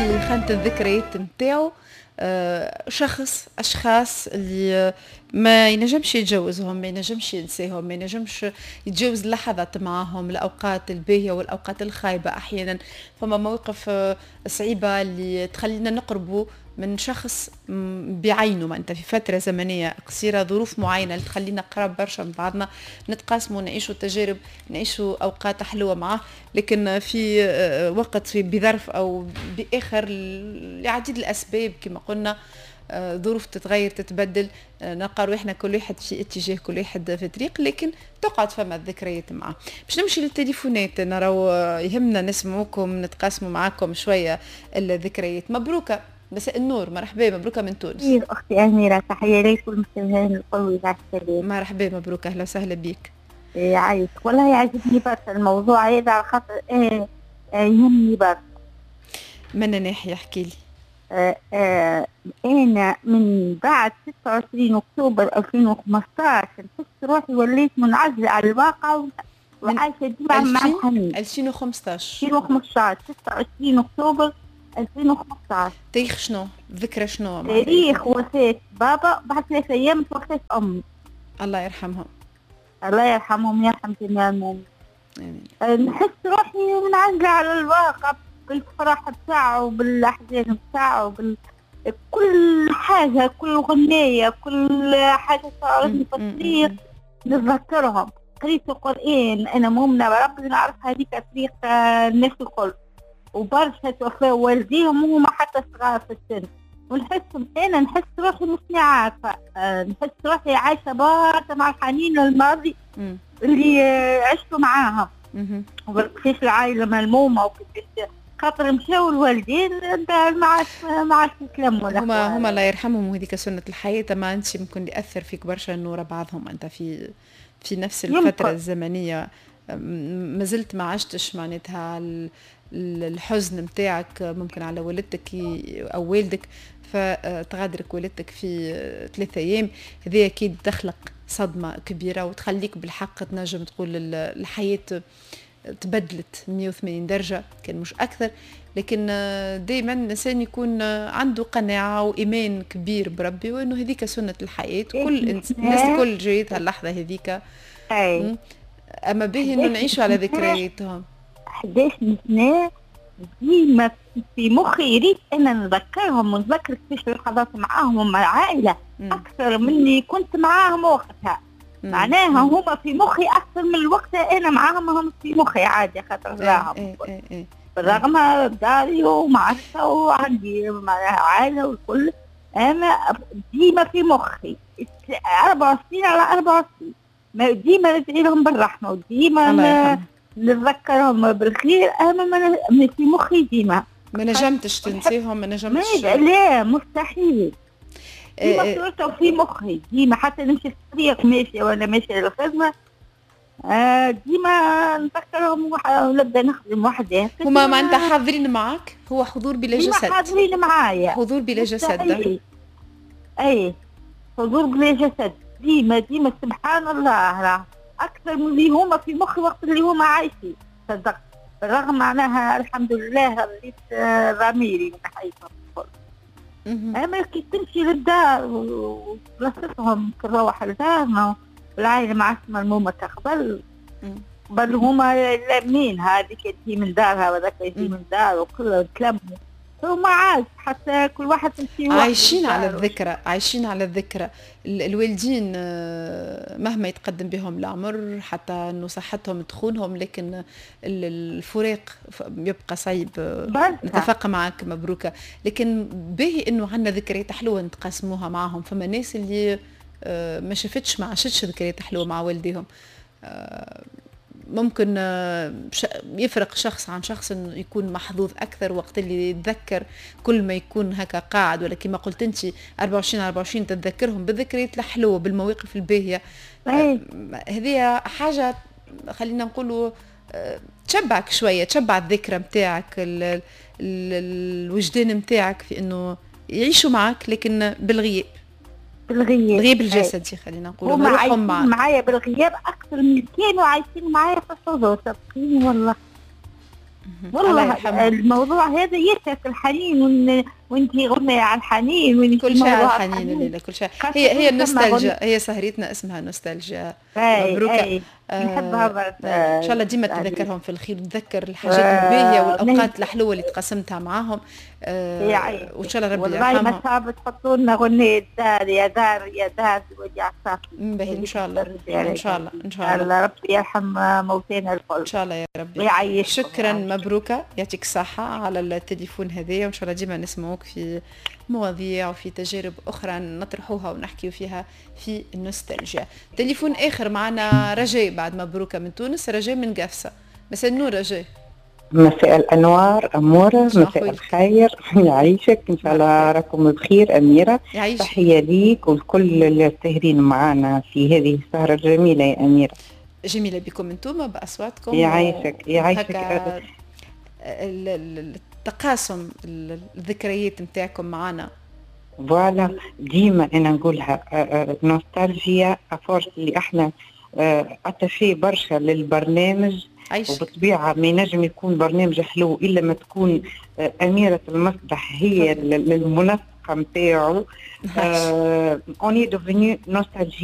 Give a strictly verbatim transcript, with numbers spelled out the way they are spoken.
في خانة الذكريات نتاعو شخص، اشخاص اللي ما ينجمش يتجاوزهم، ما ينجمش ينساهم، ما ينجمش يتجاوز اللحظات معاهم، الاوقات الباهيه والاوقات الخايبة. احيانا فما مواقف صعيبة اللي تخلينا نقربوا من شخص بعينه، ما انت في فترة زمنية قصيره، ظروف معينة اللي تخلينا قراب برشا من بعضنا، نتقاسموا، نعيشوا تجارب، نعيشوا اوقات حلوة معاه، لكن في وقت في بظرف او باخر لعديد الاسباب كما قلنا ظروف تتغير تتبدل، نلقى روحنا كل واحد في اتجاه، كل واحد في طريق، لكن تقعد فما الذكريات معاه. باش نمشي للتليفونات، نراو يهمنا نسمعوكم، نتقاسموا معاكم شوية الذكريات. مبروكه، مساء النور، مرحبا، مبروكه من تونس. اختي اميره، تحية لك والمستمعين الكل اذاعة السلام. مرحبا مبروكه، اهلا وسهلا بك. يعيشك، والله يعجبني برشا الموضوع هذا على خاطر إيه يهمني برشا. من ناحية احكي لي؟ آه آه انا من بعد ستة وعشرين اكتوبر ألفين وخمسطاش نحس روحي وليت منعزله على الواقع وعايشة ديما مع الحنين. ألفين وخمسطاش ألفين وخمسطاش ستة وعشرين اكتوبر ألفين وخمسطاش. تاريخ شنو؟ ذكرى شنو؟ تاريخ وفاة بابا، بعد ثلاثة أيام توفات أمي. الله يرحمهم. الله يرحمهم ويرحم جميع المؤمنين. آمين. نحس روحي منعزلة على الواقع بالفرح بتاعه بالأحزان بتاعه بال... كل حاجة، كل غنية، كل حاجة صارتني في الطريق نتذكرهم. قريت القرآن، أنا مؤمنة بربي، نعرف هذيك طريق الناس الكل، وبرشا توفاو والديهم وهما حتى صغار في السن، ونحس انا نحس روحي مش عارفه، نحس روحي عايشه برشا مع الحنين الماضي اللي عشته معاهم، وكيفاش العائلة ملمومه وكيفاش خاطر مشاو الوالدين ما عادش ما عادش يتلموا. هما هما الله يرحمهم، وهذيك سنة الحياة. ما انت ممكن ياثر فيك برشا انه ورا بعضهم انت في في نفس الفترة يمكن. الزمنية ما زلت ما عشتش معناتها الحزن متاعك ممكن على والدتك او والدك، فتغادرك والدتك في ثلاثة ايام، هذه اكيد تخلق صدمة كبيرة وتخليك بالحق تنجم تقول الحياة تبدلت مية وثمانين درجه كان مش اكثر. لكن دائما الانسان يكون عنده قناعة وايمان كبير بربي وانه هذيك سنة الحياة، كل الناس الكل جايتها اللحظة هذيك. اما به انه نعيشوا على ذكرياتهم. أحد عشر سنة ديما في مخي ريت أنا نذكرهم ونذكر كيفاش اللحظات معاهم ومع العائلة أكثر مني كنت معاهم وقتها. مم. معناها هما في مخي أكثر من الوقت أنا معاهم، هم في مخي عادي خاطر راهم. إيه إيه إيه. بالرغم داري ومعرفة وعندي معناها عائلة والكل، أنا ديما في مخي أربعة وعشرين على أربعة وعشرين، ديما ندعي لهم بالرحمة وديما نتذكرهم بالخير، اما ما في مخي ديما ما نجمتش تنسيهم، ما نجمتش. لا مستحيل، ديما صورتهم في مخي ديما، حتى نمشي في الطريق ماشية ولا ماشية للخدمة ديما نتذكرهم ونبدا نخدم وحدي. هما معناتها حاضرين معاك، هو حضور بلا جسد. ديما حاضرين معايا، حضور بلا جسد. اي حضور بلا جسد ديما ديما، سبحان الله، راه اكثر من اللي هما في مخي وقت اللي هما عايشين، صدقت. بالرغم معناها الحمد لله رضيت ضميري من حياتهم الكل. اما كي تمشي للدار وبلاصتهم تروح لدارنا والعائلة ما عادش ملمومه كقبل، بل هما لامين، هذيك تجي من دارها وذاك يجي من دار وكل تلموا، وما عاد حتى كل واحد يمشي. عايشين على الذكرى، عايشين على الذكرى. الوالدين مهما يتقدم بهم العمر حتى انه صحتهم تخونهم، لكن الفراق يبقى صعيب. نتفق معك مبروكه، لكن باهي انه عندنا ذكريات حلوة نتقاسموها معهم. فما ناس اللي ما شافتش ما عاشتش ذكريات حلوة مع والديهم، ممكن يفرق شخص عن شخص انه يكون محظوظ اكثر وقت اللي يتذكر، كل ما يكون هكا قاعد، ولا كما قلت انت أربعة وعشرين أربعة وعشرين تتذكرهم بالذكريات الحلوة بالمواقف الباهيه. هذه حاجة خلينا نقولوا تشبعك شوية، تشبع الذكرى نتاعك، الوجدان نتاعك في انه يعيشوا معك لكن بالغياب. بالغياب، الغياب الجسدي خلينا نقولوا. هما عايشين معايا بالغياب اكثر من كانوا عايشين معايا في الحضور، صدقيني والله. والله الموضوع هذا يسعك الحنين، وانت غنية على الحنين. وانت كل شيء على الحنين الليلة، كل شيء. هي هي النوستالجيا، هي سهرتنا اسمها نوستالجيا. مبروكة. آه نحبها برشا. ان شاء الله ديما تذكرهم في الخير وتذكر الحاجات الباهيه والاوقات الحلوة اللي تقاسمتها معاهم، آه وان شاء الله ربي يرحمهم. والله ما صعب تحطوا لنا غنية دار يا دار يا دار وجع صافي. باهي، ان شاء الله، ان شاء الله، ان شاء الله. ربي يرحم موتانا الكل. ان شاء الله يا ربي. ويعيش. شكرا مبروكه، يعطيك الصحة على التليفون هذايا، وان شاء الله ديما نسمعوك في مواضيع وفي تجارب اخرى نطرحوها ونحكيو فيها في النوستالجيا. تليفون اخر معنا، رجاء بعد مبروكه من تونس، رجاء من قفصه. مساء النور رجاء. مساء الانوار اموره، مساء الخير، يعيشك، ان شاء الله راكم بخير اميره. يعيشك. تحية ليك ولكل الساهرين معنا في هذه السهرة الجميلة يا اميره. جميلة بكم انتم باصواتكم. يعيشك يعيشك. التقاسم الذكريات نتاعكم معنا. voilà، ديما انا نقولها nostalgie à force اللي احنا attachés برشا للبرنامج. عيش. وبالطبيعه ما ينجم يكون برنامج حلو الا ما تكون اميره المسرح هي المنسقه نتاعو. on est devenu nostalgique.